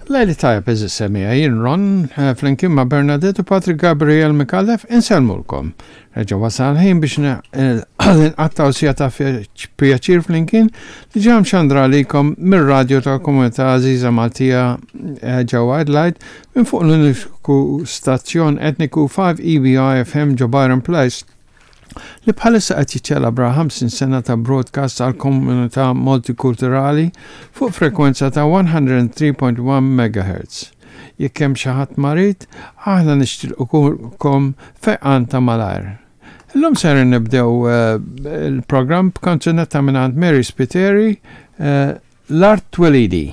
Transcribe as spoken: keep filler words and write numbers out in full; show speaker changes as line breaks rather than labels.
Lejl it-tajjeb, għeżież semmiegħa, jien Ron eh, flimkien ma' Bernadette u Patrick Gabriel Micallef insellmulkom. Reġa' wasal ħin biex eh, nqattgħu siegħa ta' pjaċir flimkien li ġam xandra għalikom mir-radio tal-komunità għażiża Maltija eh, ġewwa Adelaide minn fuq l-uniku stazzjon etniku five E B I F M ġo Byron Place li bħalissa qed jiċċelebra ħamsin sena ta' broadcast għal komunità multikulturali fuq frekwenza ta' mija u tlieta punt wieħed megahertz. Jekk hemm xi ħadd marid, aħna nixtiequlkom fejqan ta' malajr. Illum ser nibdew eh, il-programm b'kanzunetta minn Mary Spiteri, eh, L-Art Twelidi.